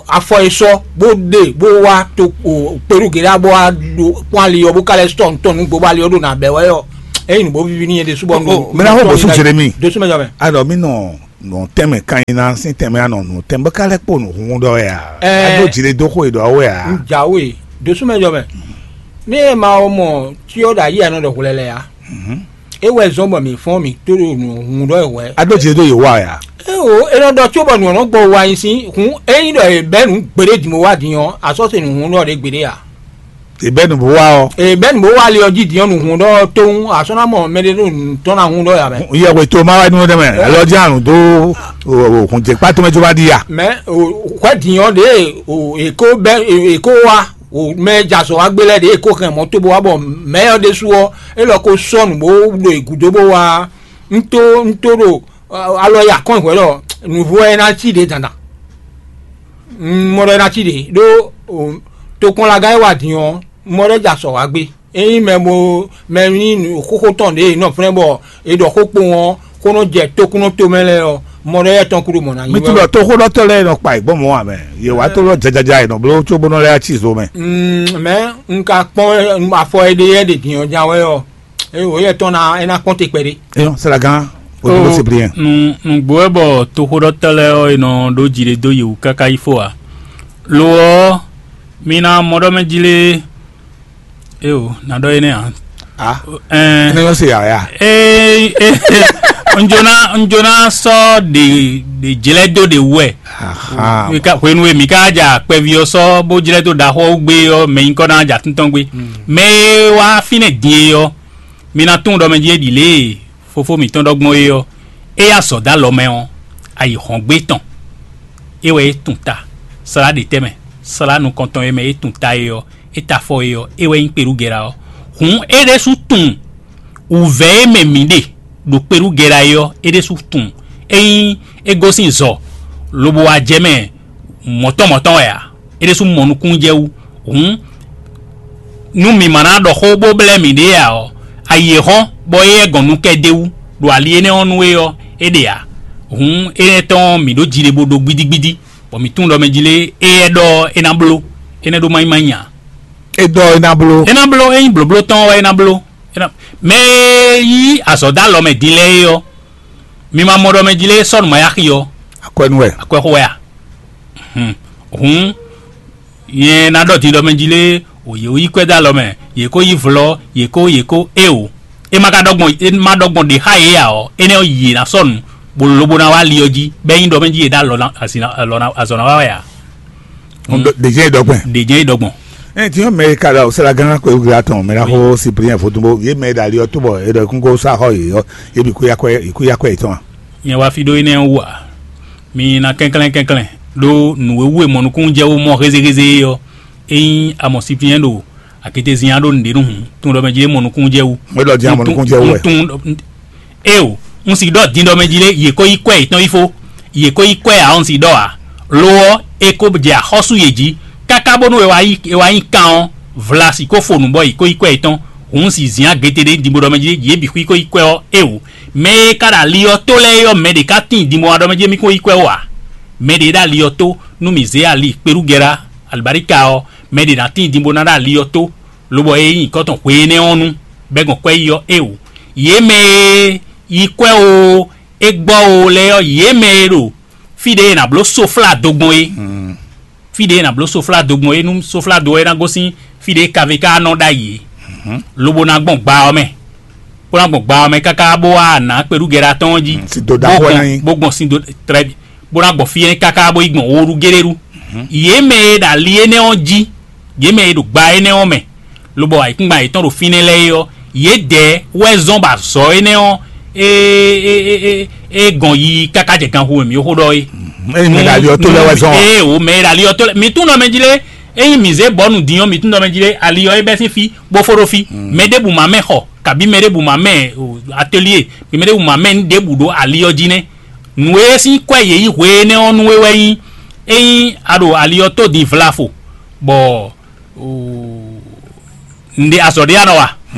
afɔ e sɔ́ bó ɖe bó wá to kpeɖú geɖá bó wá ɖo kpɔ́n ali ɔ́ bó ka lɛ́ sɔ́ nǔ tɔn nú gbobó ali ɔ́ ɖo nǎ bɛ́ wɛ ɔ́, é nyí nǔ bó víví n'i ɖésú bɔ nǔ. Mɛ ná xɔ bɔsú Jeremi. Dosú mɛ jɔ mɛ. Alɔ mi nɔ nɔ tɛmɛ kan nyi na sín tɛmɛ anɔ nù tɛmɛ bó ka lɛ́ kpo nǔ hun ɖɔ wɛ a? Ado jìɖe dó xó e ɖɔ wɛ a? Njawe dosú mɛ jɔ mɛ. Ní e ma wo mɔ tí ɔ́ ɖo ayé anɔ ɖɔ hwlɛlɛ a? É wɛ zɔ́n bɔ mǐ fɔ́n mǐ tó ɖo nǔ hun ɖɔ wɛ. Ado jìɖe dó yě wá wɛ a? Eo, é nɔ ɖɔ có bɔ nǔ ɔ́ nɔ gbɔ wa nyi sín hun ényí ɖɔ è bɛ́ nǔ gbeɖé din bó wá din ɔ́, a sɔ́ se nǔ hun ɖɔ ɖě gbeɖé a? È bɛ́ nǔ bó wá ɔ́. È bɛ́ nǔ bó wá ali ɔ́ jí din ɔ́ nǔ hun ɖɔ towun a sɔ́ ná mɔ mɛɖé ɖo nǔ tɔn ná hun ɖɔ ya mɛ. Yɛhwe to ma wá nú ɖe mɛ alɔ ján àrùn dó hùn jɛ kpá tɔmɛ tó bá ɖi ya. Mɛ hwɛ din ɔ́ ɖě è kó bɛ́ è kó wá mɛ jɛ azɔ̌ wá gbé lɛ́ɛ ɖě è kó hɛn mɔ̌ tó bó wá bɔ mɛ ɔ́ ɖésú ɔ́ é lɔ ko sɔ́ nǔ bó ɖo è gǔdo bó wá. Ntó ntó ɖo alɔ ya kɔn hwɛ ɖɔ nǔvú wɛ ná cí ɖě dandan. Mɔ ɖɔ ná cí ɖě ɖó tokpɔnlagán e wa din ɔ́, mɔ ɖɔ jɛ azɔ̌ wá gbé. Ényí mɛ bo mɛ ní xóxó tɔn ɖě nɔ flɛ́n bɔ è ɖɔ xó kpowun ɔ́, xó nɔ jɛ tókúnɔ tomɛ lɛ́ɛ ɔ́, mɔ ɖɔ yɛ tɔn kú ɖo mɔ̌ ná nyí. Mi tunɔ toxóɖɔtɔ́ lɛ́ɛ nɔ kpa yi gbɔn mɔ̌ ame, yě wá tó lɔ jajaja yě nɔ bló cóbónɔ lɛ́ɛ cí zo mɛ. Mɛ un ka kpɔn afɔ e ɖe yɛ ɖe din ɔ́ ján wɛ ɔ́, é wǒ yɛ tɔn ná é ná kpɔ́n te kpɛɖé. Eyɔn, Salagan, o ní bó se bliyɛn. Nǔgbó wɛ bɔ toxóɖɔtɔ́ lɛ́ɛ ɔ́, è nɔ ɖó jiɖe dó yi wǔ káká yi fó ǎ. Lo ɔ́, mi ná mɔ ɖɔ mɛ jí lé. Eo, ná ɖɔ énɛ́ ǎ. A Ɛn, énɛ́ nyɔ́ se yǎyá. Ee, ee, un jó ná un jó ná sɔ́ ɖe ɖe jlɛ́ dó ɖe wú wɛ. Ahan. Mi ka hwenu e mǐ ka ja kpɛví ɔ́ sɔ́ bó jlɛ́ dó ɖaxó ɔ́ gbé ɔ́, mɛ nyíkɔ ná ja tíntɔ́n gbé. Mɛ e wá fínɛ́ din e ɔ́, mi ná tunwun ɖɔ mɛ jí é ɖi lě e fofó mǐtɔn ɖɔ gbɔn é ɔ́, é yá azɔ̌ dó alɔ mɛ ɔ́, ayǐhɔ́ngbe tɔn é wɛ é tun ta. Slá ɖě tɛ́ mɛ, slá nukɔntɔn e mɛ é tun ta é ɔ́, é ta afɔ é ɔ́, é wɛ nyí kpeɖúgɛ́ ɖa ɔ́. Hǔn é ɖésú tunwun wǔvɛ́ e mɛ mǐ ɖe ɖo kpeɖúgɛ́ ɖa é ɔ́, é ɖésú tunwun. Ényí é gosín zɔ, lobo wá jɛ mɛ mɔ̌tɔn mɔ̌tɔn wɛ ǎ, é ɖésú mɔ nukúnnú jɛ wú. Hǔn nú mǐ ma ná ɖɔ xó bó blɛ́ mǐɖée ǎ ɔ́, ayi e hɔ́n bɔ é yɛ gɔn nú kɛ d'é wú ɖo ali énɛ́ ɔ́ nú é ɔ́, é ɖe ǎ. Hǔn énɛ́ tɔn ɔ́, mǐ ɖó jiɖe bó ɖó gbídígbídí, bɔ mǐ tunwun ɖɔ mɛ jí lé éyɛ́ ɖɔ é ná bló, énɛ́ ɖó mányi mányi ǎ. É ɖɔ é ná bló. É ná bló, ényí blǒbló tɔn ɔ́ wɛ é ná bló. É ná, mɛ e yí azɔ̌ dó alɔ mɛ din lɛ́ɛ é ɔ́, mi ma mɔ ɖɔ mɛ jí lé sɔ́ nǔ ma yá xi ɔ́, Akwɛ́nú wɛ. Akwɛ́xó wɛ a? Hǔn, hǔn, nyɛ ná ɖɔ din ɖɔ mɛ jí lé o yě wú yí kwɛ́ dó alɔ mɛ, yě kó yí vlɔ́, yě kó yě kó é o. É ma ka ɖɔ gbɔn é ma ɖɔ gbɔn ɖě xá yě ǎ ɔ́, énɛ́ ɔ́ yě ná sɔ́ nǔ, bó lobo ná wá ali ɔ́ jí, bɔ é nyí ɖɔ mɛ jí yě ɖó alɔ ná azɔ̌ ná wá wɛ ǎ. Ɖèjé ɖɔgbɛn. Ɖèjé ɖɔgbɔn. Ɛ tiɲɔ mɛ ka ɖo sɛla gángan ko wúgla tɔn mɛ la xo Cyprien Fotumbo ye mɛ ɖo ali ɔ́ tó bɔ è ɖɔ kún ko sa xɔ yě ɔ́, yě bǐ kó yá kwɛ yě kó yá kwɛ yětɔn a? Nyɛ wá fí ɖó énɛ́ ɔ́ wú ǎ. Mi ná kɛnklɛ́n kɛnklɛ́n ɖó nǔ e wú è mɔ nukúnnú jɛ wú mɔ hézéhézé é ɔ́, ényí a mɔ Cyprien ɖo akétézin ɔ́ ɖó nǔɖé nú hǔn, tunwun ɖɔ mɛ jí é mɔ nukúnnú jɛ wú. Mɛ ɖɔ din a mɔ nukúnnú jɛ wú wɛ. Eo, un si ɖɔ din ɖɔ mɛ jí lé yě ko yí kwɛ yětɔn yi fó, yě ko yí kwɛ ǎ, un si ɖɔ ǎ. Lo ɔ́, è ko jɛ axɔ́sú yě jí, káká bónú è wá yi è wá nyi kan ɔ́, vla sixó fo nǔ bɔ yě ko yí kwɛ yětɔn. Hǔn un si zǐn agete ɖé din bó ɖɔ mɛ jí lé yě bǐ xwí ko yí kwɛ ɔ́, eo. Mɛ e ka ɖo ali ɔ́ tó lɛ́ɛ é ɔ́, mɛ ɖě ka tíin din bó wá ɖɔ mɛ jí mì ko yí kwɛ ó ǎ. Mɛ ɖě ɖo ali ɔ́ tó nú mǐ zé ali kpeɖúgɛ́ ɖá alibáríka ɔ́, mɛ ɖě ná tíin din bó ná ɖo ali ɔ́ tó, lobɔ é nyí nyǐkɔ tɔn hwe énɛ́ ɔ́ nu, bɔ é gbɔn kwɛ́ yi ɔ́, eo. Yě mɛ e yí kwɛ́ oo, é gbɔ oo lɛ́ɛ ɔ́, yě mɛ e ɖo fí ɖě è nǎ bló soflá do gbɔn é. Fí ɖě è nǎ bló soflá do gbɔn é, nú soflá do ɔ́ é ná gosín fí ɖě K V K nɔ ɖ'ayǐ é, lobo ná gbɔn gba ɔ́ mɛ, bó ná gbɔn gba ɔ́ mɛ káká bó wá nǎ kpeɖúgɛ́ɖá tɔn ɔ́ jí, Sin do ɖaxó ɛ ná nyí. Bó gbɔn sin do trɛ́ bó ná gbɔ fí énɛ́ káká bó yi gbɔn wóɖú géɖéɖú. Yě mɛ e ɖo ali énɛ́ ɔ́ jí, yě mɛ e ɖo gba énɛ́ ɔ́ mɛ, lobɔ ayǐkúngban yětɔn ɖo fínɛ́ lɛ́ɛ é ɔ́, yědɛɛ wɛ zɔ́n bɔ azɔ̌ énɛ́ ɔ́ é é é é é gɔn yiyi káká jɛ ganxu e mǐ xo ɖɔ é. Ényí mɛ ɖo ali ɔ́ tó lɛ́ɛ wɛ zɔ́n ɔ́. Ee o, mɛ e ɖo ali ɔ́ tó lɛ́ɛ, mǐ tún nɔ mɛ jí lé. Ényí mǐ zé bɔ̌nu din ɔ́, mǐ tún nɔ mɛ jí lé, ali ɔ́ é bɛ́ sín fí bó fó ɖó fí. Mɛ ɖěbǔ ma mɛ xɔ, kabí mɛ ɖěbǔ ma mɛ atelier, mɛ ɖěbǔ ma mɛ nǔ ɖěbǔ ɖó ali ɔ́ jí nɛ́. Nǔ e sín kwɛ́ yě yí hwe énɛ́ ɔ́ nú é wɛ nyí Ényí a ɖo ali ɔ́ tó din vlafo, bɔ un ɖe azɔ̌ ɖé a nɔ wa,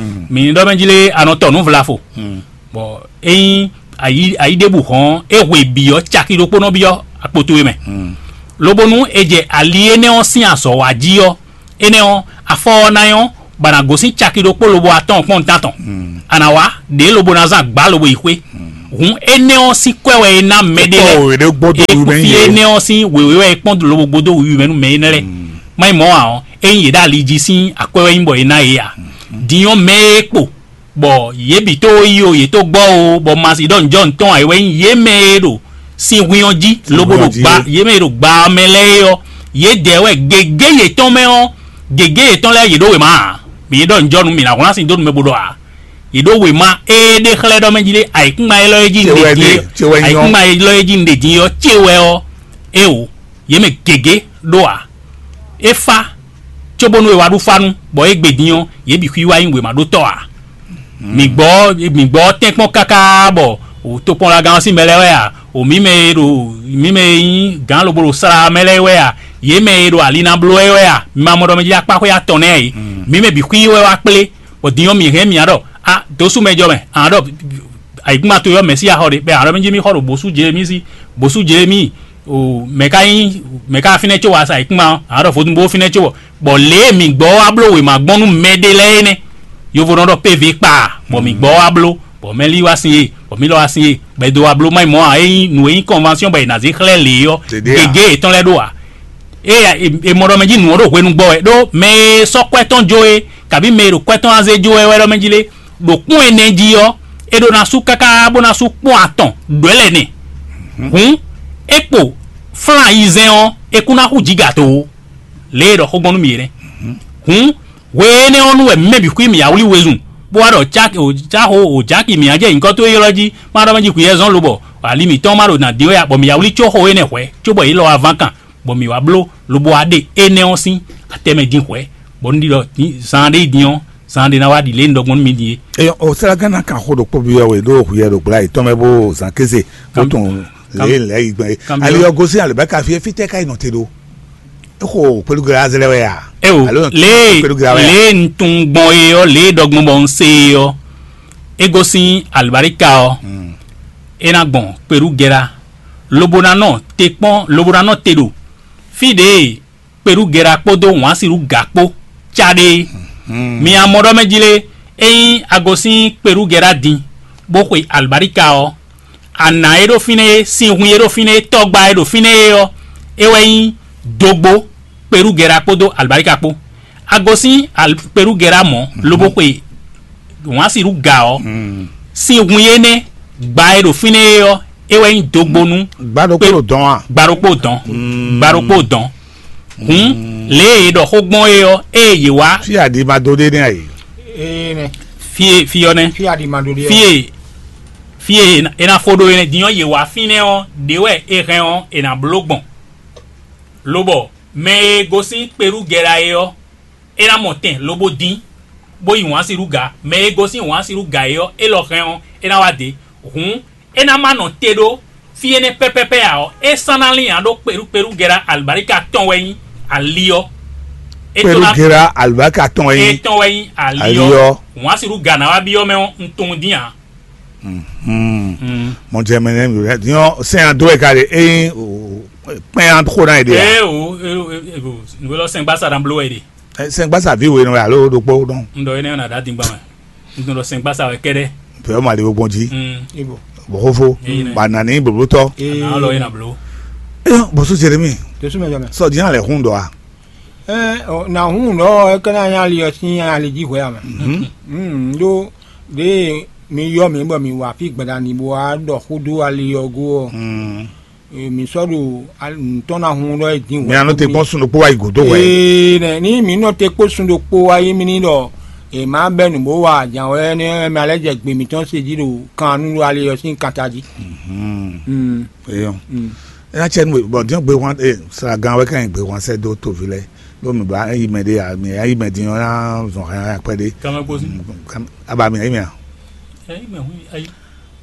mǐ ní ɖɔ mɛ jí lé a nɔ tɔ nǔ vlafo, bɔ ényí ayi ayi ɖěbǔ hɔn é hwe bǐ ɔ́, caki ɖokpó nɔ byɔ́ akpo towe mɛ, lobonu è jɛ ali énɛ́ ɔ́ sín azɔ̌ wa jí ɔ́, énɛ́ ɔ́, afɔ ɔ́ ná nyɔ́, bɔ a nǎ gosín caki ɖokpó lobo atɔ́ɔ́n kpɔ́n nǔtán tɔn. A nǎ wá ɖě lobo ná zán gbǎ lobo yi xwé. Hǔn énɛ́ ɔ́ sín kwɛ́ wɛ è ná mɛɖé lɛ́ɛ. Fí énɛ́ ɔ́ sín wěwé wɛ è kpɔ́n lobo gbódó wiwi mɛ nú mɛ énɛ́ lɛ́ɛ. Má nyí mɔ̌ ǎ ɔ́, ényí yě ɖo ali jí sín akwɛ́ wɛ nyí bɔ è ná yě ǎ. Din ɔ́, mɛ e kpo bɔ yě bǐ tó yi o, yě tó gbɔ o, bɔ Masidɔ́ɔn jɔ́ tɔn ǎ, é wɛ nyí yě mɛ e ɖo sin hwin ɔ́ jí, lobo ɖo gba yě mɛ e ɖo gba ɔ́ mɛ lɛ́ɛ é ɔ́, yědɛɛ wɛ gěgé yětɔn mɛ ɔ́, gěgé yětɔn lɛ́ɛ yě ɖó wěma ǎ. Mǐ ɖɔ nǔjɔnǔ mǐ ná hwlán sin dó nú mɛ bó ɖɔ ǎ. Yě ɖó wěma ée ɖe xlɛ́ ɖɔ mɛ jí ɖé, ayǐkúngban élɔ́ e jí un ɖe din, ayǐkúngban élɔ́ e jí un ɖe din ɔ́ ce wɛ ɔ́, é o, yě mɛ gěgé ɖó ǎ. É fá, cóbónú è wá ɖu fá nú, bɔ égbé din ɔ́, yě bǐ xwí wá nyí wěmaɖótɔ́ ǎ. Mǐ gbɔ mǐ gbɔ tɛ́nkpɔ́n káká bɔ tokpɔnlagán ɔ́ sín mɛ lɛ́ɛ wɛ a? O mǐ mɛ e ɖo mǐ mɛ e nyí gǎn lobo ɖo sla mɛ lɛ́ɛ wɛ a? Yě mɛ e ɖo ali ná bló wɛ wɛ a? Mi ma mɔ ɖɔ mɛ jí akpáxwé atɔn nɛ́ ǎ é? Mǐ mɛ bǐ xwí wɛ wá kplé, bɔ din ɔ́ mǐ hɛn mǐ ǎ ɖɔ a dǒsú mɛ jɔ mɛ ǎ ɖɔ ayǐkúngban towe ɔ́ Mɛsíya xɔ ɖe, bɔ ǎ ɖɔ mɛ jí mì xɔ ɖo bǒsú Jelemíi sí, bǒsú Jelemíi o mɛ̌ ka nyí mɛ̌ ka fínɛ́ có wá sa ayǐkúngban ɔ́? Ǎ ɖɔ vodún bó fínɛ́ có bɔ bɔ lě e mǐ gbɔ wá bló wěma gbɔn nú mɛɖé lɛ́ɛ é nɛ́. Yovo nɔ ɖɔ P V kpa, bɔ mǐ gbɔ wá bló, bɔ mɛ lí wá sin e, bɔ mǐ lɔ wá sin e, bɔ è dó wá bló má nyí mɔ̌ ǎ. É nyí nǔ e nyí kɔnvansyɔ́n bɔ è nǎ zé xlɛ́ lě ɔ́, gěgé yětɔn lɛ́ɛ ɖó ǎ. É e mɔ ɖɔ mɛ jí nǔ ɔ́ ɖo hwenu gbɔ wɛ, ɖó mɛ e sɔ́ kwɛ́ tɔn jó é, kabǐ mɛ e ɖo kwɛ́ tɔn ná zé jó wɛ wɛ ɖɔ mɛ jí lé, ɖo kpɔ́n ɛnɛ jí ɔ́, é ɖó ná sú káká bó ná sú kpɔ́n atɔn ɖɔ̌ lɛ́ɛ nɛ. Hǔn é kpo flán ayizɛ́n ɔ́, é kún ná xú jǐgato ó. Lě e è ɖɔ xó gbɔn nú mì é nɛ́. Hǔn hwe énɛ́ ɔ́ nu wɛ mɛ bǐ xwí mǐ awlí wezun, bó wá ɖɔ cáxo ò jáki mǐ á jɛ nyǐkɔ towe ylɔ́ jí, má ɖɔ mɛ jí hwǐ lɛ́ɛ zɔ́n lobɔ ali mǐtɔn ma ɖo nǎ dín wɛ ǎ, bɔ mǐ awlí có xo énɛ́ hwɛ̌, cóbɔ yě lɔ wá ván kan, bɔ mǐ wá bló lobo wá ɖe énɛ́ ɔ́ sín atɛ mɛ din hwɛ̌, bɔ un ɖi ɖɔ zan ɖé yi din ɔ́, zan ɖé ná wá ɖi lě e un ɖɔ gbɔn nú mi din é. Eyɔ, o sɛ́lɛ́gán ná kan xó ɖokpó byɔ́ we ɖó hwǐ yɛ ɖo gbla yětɔn mɛ bó zan kéze bó tunwun lě e lɛ̌ yi gbɛn é. Ali ɔ́ gosín alǒbáka fí é, fítɛ́ ká yi nɔ te ɖó? É xo kpelúgla zlɛ́ wɛ a? Eo, Alo lě e kpelúgla wɛ a? Lě e un tunwun gbɔn é ɔ́, lě e ɖɔ gbɔn bɔ un se é ɔ́, é gosín alǒbáríka ɔ́, é ná gbɔn kpelúgɛ́ ɖá, lobo ná nɔ te kpɔ́n, lobo ná nɔ te ɖo fí ɖě e kpelúgɛ́ ɖá kpódó wǎnsiɖú gǎ kpó cá ɖe é. Mi a mɔ ɖɔ mɛ jí lé, ényí a gosín kpelúgɛ́ ɖá din, bó xwe alǒbáríka ɔ́, ana e ɖo fínɛ́ é, sin hun e ɖo fínɛ́ é, tɔgba e ɖo fínɛ́ é ɔ́, é wɛ nyí dogbo kpelúgɛ́ ɖá kpódó alǒbáríka kpó. A gosín al- kpelúgɛ́ ɖá mɔ̌, lobo xwe wǎnsiɖú ga ɔ́, sin hun énɛ́ gba e ɖo fínɛ́ é ɔ́, é wɛ nyí dogbo nú Gbá ɖokpó ɖo dɔn a? Gba ɖokpó dɔn. Gba ɖokpó dɔn. Hǔn lě e è ɖɔ xó gbɔn é ɔ́, ée yě wá Fí aɖi ma dó ɖé nɛ́ a yě? Ee nɛ. Fí e fí ɔ́ nɛ́. Fí aɖi ma ɖo ɖe Fí ɔ́. E fí e è nǎ- è nǎ fó ɖó é nɛ́. Din ɔ́, yě wá fínɛ́ ɔ́, ɖě wɛ è hɛn ɔ́, è nǎ bló gbɔn. Lobɔ mɛ e gosín kpelúgɛ́ ɖá é ɔ́, é ná mɔ tɛn lobo dín, bó yi wǎnsiɖú ga. Mɛ e gosín wǎnsiɖú ga é ɔ́, é lɔ hɛn ɔ́, é ná wá dě. Hǔn é ná má nɔ te ɖó fí énɛ́ pɛ́pɛ́pɛ́ ǎ ɔ́, é sán ná lín ǎ ɖó kpelúkpelúgɛ́ɖá alǐbáríka tɔn wɛ nyí ali ɔ́. É tó ná Kpelúgɛ́ɖá alǐbáríka tɔn wɛ é nyí tɔn wɛ nyí ali ali ɔ́. Ɔ́. Wǎnsiɖú ga ná wá byɔ́ mɛ ɔ́, un tunwun dín ǎ. Mɔjɛmɛ nɛ mi rɛ diɔ sɛn ado wɛ ka ɖe eyin kpɛn an xo na yi ɖe a. Ee o, nugbe lɔ sɛn gbasa ɖan blo wɛ ɖe. Sɛn gbasa vi wo nɔ alo ɖokpo dɔn. Un ɖɔ énɛ́ ɔ́ ná ɖo adingba mɛ. Un tunɔ ɖɔ sɛn gbasa wɛ kɛɖɛ. Pɛ ɔ́ ma ɖe wo gbɔn jí. Bɔxófó, ba nani blǒblótɔ́. Ana lɔ yina blo. Eyɔ bɔsú Jeremi. Sɔ diyan lɛ hun dɔ a. Ɛ na hun dɔ ɛ kɛ na nya li ɔ sin nya li ji hwɛ a mɛ. Ɖo ɖe mi yɔ mi bɔ mi wa fi gbadani bo wa ɖɔ xó dó ali ɔ go ɔ. Mi sɔ ɖo nutɔn na hun ɖɔ e din. Mi anɔ te kpɔn sun ɖokpó wa yi godo wɛ. Ee nɛ ni mi nɔ te kpó sun ɖokpó wa yi mi ni ɖɔ e ma bɛ nu bó wa jan wɛ ne mɛ alɛ jɛ gbe mitɔn se ji ɖo kan nu ali yɔ sin kata ji. Eyɔ ena cɛ nu bɔn diɔ gbe wan e sra gan wɛ kan gbe wan sɛ do tovi lɛ. Ɖo mi ba eyi mɛ ɖe ya mi eyi mɛ din ɔ na zɔn hɛn akpɛ ɖe. Kama gosi. Aba mi eyi mɛ a. Eyi mɛ hu ayi.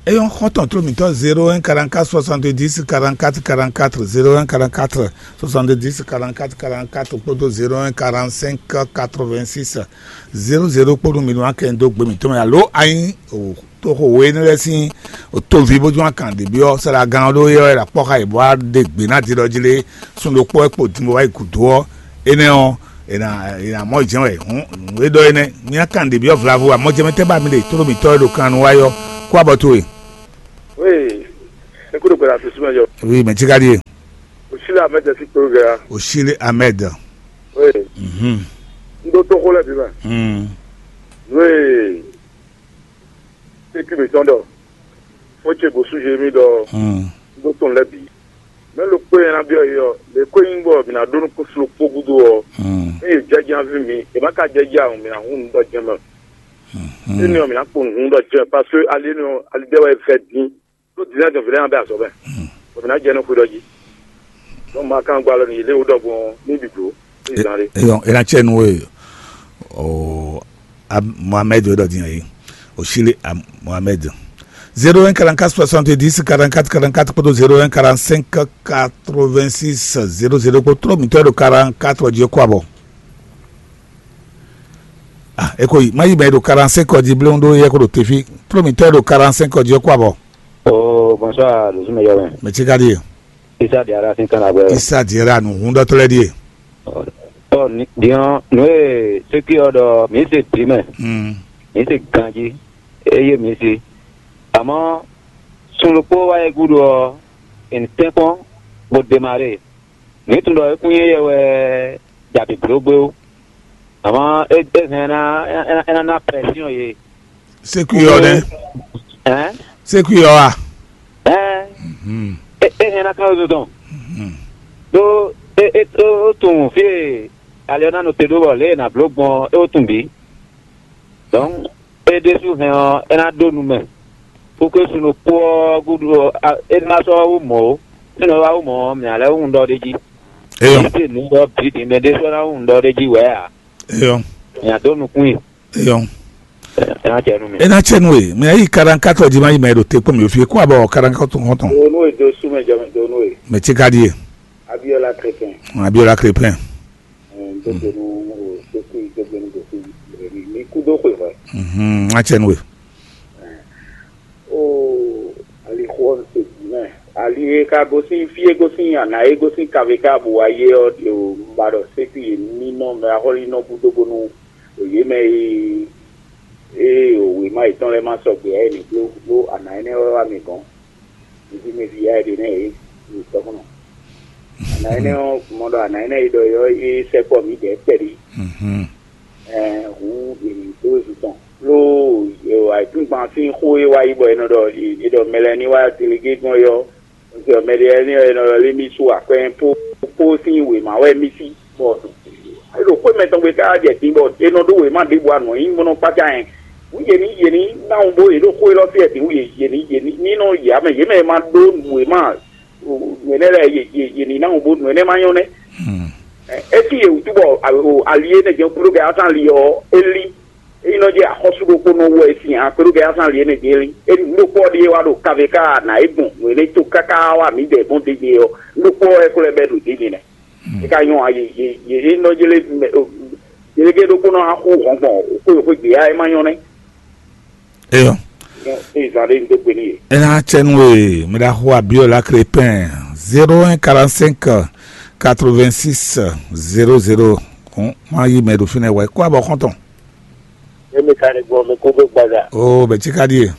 Eyɔn xɔ́ntɔn tló mǐtɔn zéro un quarante-quatre soixante-dix quarante-quatre quarante-quatre, zéro un quarante-quatre soixante-dix quarante-quatre quarante-quatre kpódó zéro un quarante-cinq quatre-vingt-six zéro zéro kpódó mi nɔ akɛn dó gbe mǐtɔn mɛ alo anyi o tóxo we énɛ́ lɛ́ɛ sín o tóví bó jún akán ɖě byɔ́ sɛ́lagán ɔ́ ɖó yɛ wɛ ɖo akpɔ́ xa yě bó wá ɖe gbě ná dilɔ jí lé sun ɖokpó wɛ kpo din bó wá yi gǔdo ɔ́, énɛ́ ɔ́, è nǎ è nǎ mɔ jɛ́n wɛ hǔn nǔ e ɖɔ énɛ́. Mía kan ɖě byɔ́ vlavo amɔjɛmɛtɛ́ ba mi ɖe tló mǐtɔn e ɖo kan nu wá yɔ kó abɔ towe. Oui, écoute de la session yo. Oui, mais tu gagné. Osile Ahmed si kpolo gɛya. Osile Ahmed. Oui. Mhm. Ndo to ko le bi ma. Hmm. Oui. C'est que me tondo. Faut que go sujet mi do. Hmm. Ndo ton le bi. Mɛ ɖokpó e ná byɔ́ yě ɔ́, ɖě ko nyí bɔ mǐ ná ɖó nukúnsin ɖokpó gúdo ɔ́, ényí è jɛ jɛ́n ví mǐ, è má ka jɛ jɛ́n awun mǐ ná hun nǔ ɖɔ jɛ́n mɛ. Énɛ́ ɔ́, mǐ ná kpo nǔhún ɖɔ jɛ́n mɛ, parce que ali énɛ́ ɔ́, ali ɖé wɛ vɛ́ dín, ɖó dǐndán jɔ̌nví lɛ́ɛ ná bɛ́ azɔ̌ mɛ, bɔ mǐ ná jɛ nú xwé ɖɔ jí. Nú ma kán gba alɔ nú yě lé wú ɖɔgbɔn ní bǐ bló, ní zán ɖé. Eyɔn, é ná cɛ nú we o Mohamed wɛ ɖɔ din yìí. Osile Mohamed. Zéro un quarante-quatre soixante-dix quarante-quatre quarante-quatre kpódó zéro un quarante-cinq quatre-vingt-six zéro zéro kpó tló mǐtɔn ɖo quarante-quatre jí kó abɔ. Ah, e ko yi ma yi mɛ ɖo quarante-cinq jí blé ɖó yɛ ko ɖo tefi tló mǐtɔn ɖo quarante-cinq jí kó abɔ. Oh, bonsoir, Luzumɛ Yɔwɛn. Mɛ tsi ka ɖie. Isa Diara sín kan ɖagbe. Isa Diara nǔhúndɔ́tɔ́ lɛ́ɛ ɖie. Ɔ, din ɔ́, nǔ e sékí ɔ́ ɖɔ mǐ se bǐ mɛ, Mm. mǐ se ganjí, eye mǐ si. Amɔ́, sun ɖokpó wá yi gúdo ɔ́, è nǐ tɛ́nkpɔ́n bó demaré. Mǐ tunwun ɖɔ é kún nyí éyɛ́ wɛ ja bǐbló gbé ó. Àmọ́ é é hɛn ná é ná ná pression yě. Sékui ɔ́ nɛ́. Hɛn? Sékui ɔ́ a? Hɛn? Mhm. É é hɛn ná kán ozo tɔn. Mhm. Ɖó é é ó tunwun fí e ali ɔ́ ná nɔ te ɖó bɔ lě e è nǎ bló gbɔn ɔ́, é ó tunwun bǐ. Donc é ɖésú hɛn ɔ́, é ná ɖó nu mɛ. Póké sun ɖokpó ɔ́ gúdo ɔ́, é ná sɔ́ wá wú mɔ̌ ó. Énɛ́ wá wú mɔ̌ ɔ́, mǐ ná lɛ́ wú ŋɖɔ ɖ'é jí. Eyɔn. Mǐ se nǔ ɖɔ bǐ din mɛ ɖé sɔ́ ná wú ŋɖɔ ɖ'é jí wɛ ǎ. Eyɔn. Mǐ ná dó nukún i. Eyɔn. É ná jɛ nú mì. É ná cɛ nú we. Mǐ ná yi kaɖankátɔ jí má yi mɛ ɖo te kpɔ́n mǐ fí kó abɔ kaɖankátɔ xɔ́ntɔn. Do nú e do sú mɛ jɔ mɛ do nú e. Mɛ tí ka ɖíe. Abiola Krépin. Abiola Krépin. Ndo do nú o sékú yi do gbénu do sí. Mǐ kú dó xwe hwɛ. Mhm, á cɛ nú we. Oo, alixo ɔ́ se bǐ mɛ. Ali e ka gosín fí e gosín ana e gosín kaveka bó wá yé ɔ́ ɖe o, un ba ɖɔ sékú yě ní nɔ mɛ axɔ́línɔ gúdo bónú ɖo yě mɛ e e wěma yětɔn lɛ́ɛ ma sɔgbe ǎ, è nǐ bló bló ana énɛ́ wɛ wá mǐ gɔ́n. Mǐ ví mɛ ví yá è ɖe nɛ́ yě ɖo tɔ́xɔ́nɔ. Ana énɛ́ ɔ́, mɔ ɖɔ ana énɛ́ e ɖɔ é ɔ́, é sɛkpɔ́ mǐdɛɛ kpɛɖé. Mhm. Ɛɛ, hǔn yě ní dó wezun tɔn. Ló ayǐkúngban sín xó e wá yi bɔ è nɔ ɖɔ è ɖɔ mɛ lɛ́ɛ ní wá delegé gbɔn é ɔ́, un se ɔ mɛ ɖé lɛ́ɛ ní ɔ́, è nɔ ɖɔ lé mì sú akwɛ́ pó pó sín wěma wɛ mì sí. Bɔ é ɖo xwé mɛtɔn gbe káká jɛ din bɔ è nɔ ɖó wěma ɖěbǔ anɔ nyí mɔ nɔ kpácá nyɛ. Wǔ yě ní yě ní ná wun bó yě ɖo xó élɔ́ sí wɛ din wú yě yě ní yě ní ní nɔ yě amɛ yě mɛ ma ɖó wěma nǔ énɛ́ lɛ́ɛ yě yě yě ní ná wun bó nǔ énɛ́ ma nyɔ́ nɛ́. Ɛ, é cí yě wútu bɔ a- o ali énɛ́ jɛ́n kúɖó kɛ asán ali ɔ́ é lí. É nɔ jɛ axɔ́sú ɖokpó nɔ wɔ é sín a kúɖó kɛ asán ali énɛ́ jɛ́n lí. É nǔ ɖokpó ɔ́ ɖíe wá ɖo kave ká nǎ é gbɔn nǔ énɛ́ tó káká wá mǐ dɛ gbɔn ɖégbé ɔ́. Nǔ ɖokpó ɔ́ wɛ ko lɛ́ bɛ́ ɖo ɖégbé nɛ́. É ka nyɔ́ a yě yě yě nɔ jlé mɛ o. Yě lé ɖokpó nɔ axú hɔn gbɔn xwé xwé gbé ya é ma nyɔ́ nɛ́. Eyɔ. Eye zan ɖé ŋdó gbe n'i yě. Ena cɛnu e mɛ ɖaxó Abiola Krépin zéro un quarante-cinq quatre-vingt-six zéro zéro. Kún má yí mɛ ɖo fínɛ́ wɛ kó abɔ xɔ́ntɔn. Emi ka ɖe gbɔn mi kó gbé gbada. O bɛ tí ka ɖíe.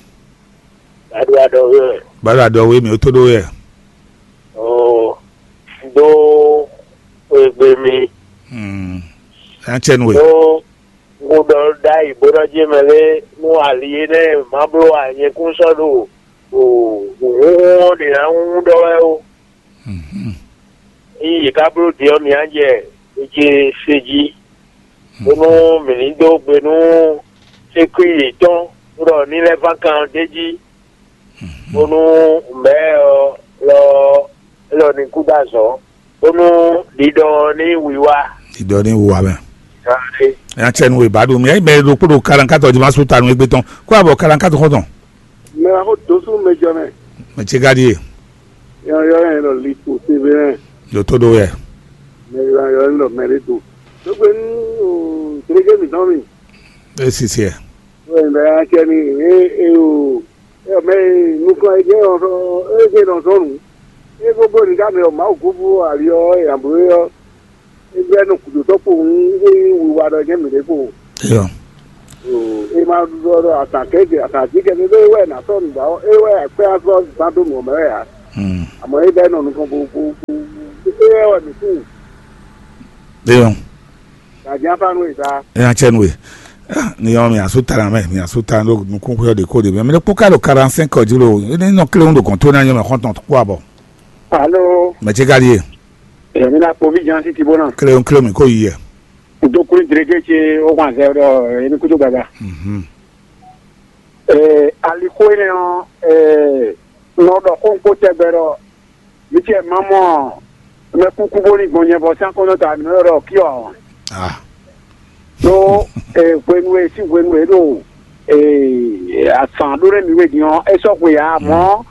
Aɖo aɖɔ wé. Baɖo aɖɔ wé mi ó tó ɖó wɛ. O do egbe mi. Hmm. Ena cɛnu e. Do ŋuɖɔ ɖ'ayǐ bó nɔ jɛ mɛ lé nú ali énɛ́ ma bló anyɛkún sɔ́ ɖo o nǔhúnhún ɔ́ ɖě ná húnhún ɖɔ wɛ ó. Mhm. Ényí yě ká bló din ɔ́, mǐ ná jɛ è ce se jí, bónú mǐ ní dó gbe nú sékwí yětɔn, bó ɖɔ ní lɛ́ ván kan d'é jí, bónú mɛ̌ ɔ́ lɔ é lɔ ní kú dó azɔ̌, bónú ɖiɖɔ ɔ́ ní wiwa. Ɖiɖɔ ní wiwa mɛ. Nya cɛ nu e ba ɖo mi ayi mɛ ɖokpó ɖo kalankatɔ di ma su ta nu egbe tɔn kó abɔ kalankatɔ xɔtɔn. Mɛ wá xó dó sú mɛ jɔ mɛ. Mɛ ce ka ɖíe? Yɔ yɔ yɛn ɖɔ lipo tebe mɛ. Ɖo tó ɖó wɛ. Mɛ yɔ yɔ yɛn ɖɔ mɛ ɖé do. Dógbe nú o trége mǐtɔn mi. E sisi ɛ. Wɛ mɛ ya cɛ ni e e o e mɛ nukɔn e jɛ nɔ sɔn e jɛ nɔ sɔn nu. E gbogbo ni ka mɛ o Mawu govo ali ɔ e ablo e ɔ. Egbé nɔ gǔdo tɔ́ kpowun é nyí wiwa ɖɔ jɛ́n mǐ ɖě kpo. Eyɔ. E ma ɖɔ ɖɔ azǎn kɛ́ azǎn jí kɛ́ ɖé wɛ nǎ sɔ́ nǔgbá ɔ́, é wɛ akwɛ́ azɔ́ zán dó nǔ ɔ́ mɛ wɛ ǎ. Hmm. Àmọ́ é bɛ́ nɔ nukɔn bo bo bo é wɛ mǐ kú. Eyɔ. Gǎjá fánú e ta. Eya cɛ nu e. Ah, ni yɔ mi asu ta na mɛ mi asu ta ɖo nukún xɔ ɖe ko ɖe mɛ mi ɖe kpó ka ɖo quarante-cinq ɔdzi lo. Ene nɔ kle ŋu ɖo gɔn tó na nyɔ mɛ xɔntɔn kpó abɔ. Alo. Mɛ ce ka ɖi e. Èmi la kpoví jan sí tibó náà. Kle ŋu kle mi kó yi yɛ. Dokun dréké ce ó wàn zɛ ɖɔ èmi kútu gbàgbà. Mhm. Ee, alikó énɛ́ ɔ́, ee, nɔ ɖɔ xó ŋkó tɛgbɛ ɖɔ mi ce ma mɔ mɛ kúkú bó ní gbɔn nyɛ vɔ sán kɔn nɔ ta mi nɔ ɖɔ kí ɔ. Ah. Ɖó ee, hwenu e sín hwenu e ɖo ee, azǎn ɖó nú mǐ we din ɔ́, é sɔ́ hwe ǎ, amɔ̌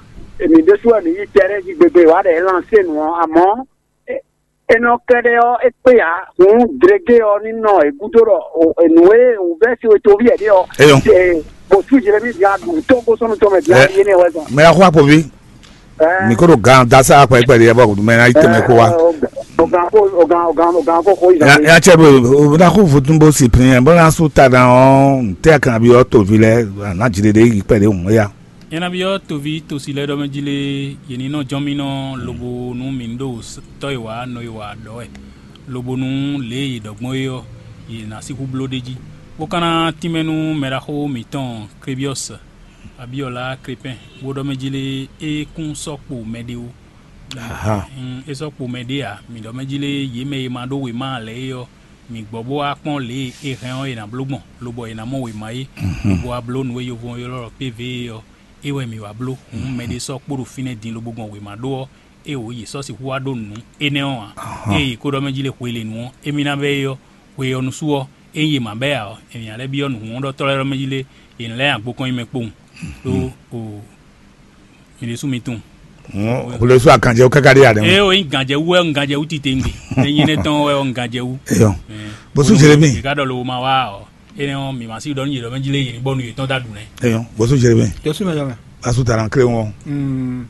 mǐ ɖésú wɛ mǐ yi tɛ́nɛ́ jí gbegbe wǎ ɖe é lansé nǔ ɔ́, amɔ̌ é nɔ kɛ́ɖɛ́ ɔ́, é kpé ǎ. Hǔn dregé ɔ́ ní nɔ è gúdo ɖɔ nǔ e wǔvɛ́ towe toví wɛ ɖé ɔ́, Eyɔ́. Bó sú Jeremíi din a ɖu tó gosɔ́nú tɔn mɛ din a Ɛ, ɖi énɛ́ wɛ zɔn. Mɛ ya xó apovi. Ɛ, Mi ko ɖo gan da sa akpa ikpɛ ɖe bɔ mɛ na yi tɛmɛ ko wa. Ɛ, o gan ko o gan o gan o gan ko xo yi Ya zan. Ya cɛ bo o na xo votun bo si pin bɔ na su ta dan ɔ tɛ kan bi ɔ tovi lɛ na jire de yi kpɛ de o ya. Nyɛ ná byɔ́ toví tosi lɛ́ɛ ɖɔ mɛ jí lé, yě ní nɔ jɔ́n mì nɔ lobo nú mǐ ní ɖo tɔ́ e wǎ nɔ e wǎ ɖɔ wɛ, lobo nú lě e yě ɖɔ gbɔn é ɔ́, yě ná sixú bló ɖ'é jí. Bó ka ná tínmɛ nú mɛɖaxó mǐtɔn Klebiyɔ́si, Abiyɔlá Klepɛ́n, bó ɖɔ mɛ jí lé, é kún sɔ́ kpo mɛɖé ó. Ahan. Mm, é sɔ́ kpo mɛɖé ǎ. Mǐ ɖɔ mɛ jí lé, yě mɛ e ma ɖó wěma ǎ lɛ́ɛ é ɔ́, mǐ gbɔ bó wá kpɔ́n lě e é hɛn ɔ́ è nǎ bló gbɔn, lobɔ è nǎ mɔ wěma é, lobo wá bló nǔ e yovo ɔ́ ylɔ́ ɖɔ P V é ɔ́, é wɛ mǐ wá bló. Hǔn mɛɖé sɔ́ kpo ɖo fínɛ́ din lobo gbɔn wěma ɖó ɔ́, é wǒ yě sɔ́ sixú wá ɖó nǔ énɛ́ ɔ́ ǎ. Ée yě ko ɖɔ mɛ jí lé hwelenu ɔ́, émí ná bɛ́ é ɔ́, hwe ɔ́ nu sú ɔ́, ényí è ma bɛ́ ǎ ɔ́, è nǐ ná lɛ́ byɔ́ nǔhwɛ́nɖɔtɔ́ lɛ́ɛ ɖɔ mɛ jí lé, yě ní lɛ́ nyi agbo kɔn nyi mɛ kpowun. Ɖó o mi ɖésú mi tunwun. Xwle sú akanjɛ káká ɖé adɛ. Eye o nyí gǎnjɛ wú wɛ, un gǎnjɛ wú titewungbe. Ne nyí ne tɔn wɛ, un gǎnjɛ wú. Eyɔ. Bó sú Jeremi. Yě ká ɖɔ lo ma wá ɔ. Énɛ́ ɔ́, mǐ ma sí ɖɔ nú yě ɖɔ mɛ jí lé yě ní bɔ nú yětɔn dó aɖu nɛ́. Eyɔ. Bó sú Jeremi. Tó sú mɛ jɔ mɛ. Asu talan kle ŋɔ. Mm.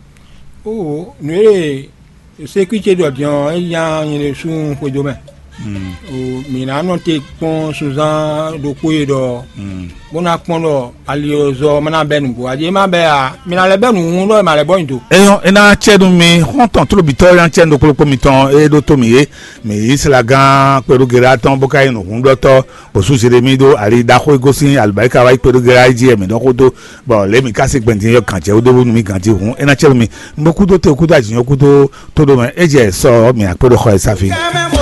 O nǔ e sécurité ɖɔ din ɔ́, é nya nyɛ ɖésú xwedó mɛ. O mǐ ná nɔ te kpɔ́n sunzán ɖokpó e ɖɔ bó ná kpɔ́n ɖɔ ali ɔ́ zɔ má ná bɛ́ nǔgbó ǎ. Ě má bɛ́ ǎ, mi ná lɛ́ bɛ́ nǔ húnhún ɖɔ è ma lɛ́ bɔ nyi do. Eyɔn é ná cɛ nú mi xɔ́ntɔn tlóbitɔ́ nya cɛ nú ɖokplɔ́kpó mitɔn e ɖó tó mǐ é, mǐ Ísla gán kpɛɖógerá tɔn bó ka nyí nǔhúnɖɔtɔ́ bó sú Zeɖemi ɖó ali ɖaxó e gosín alǔbáríka wá yi kpɛɖógerá é jí wɛ mǐ nɔ xó dó, bɔ lě mǐ ka se gbɛn din ɔ́ gǎn jɛ wú ɖó nú mì gǎn jí hǔn é ná cɛ nú mi. Un bó kúdó te kúdó ajǐ nyɔ́ kúdó tó ɖó mɛ é jɛ sɔ ɔ́ mǐ akpé ɖo xɔ e sáfi.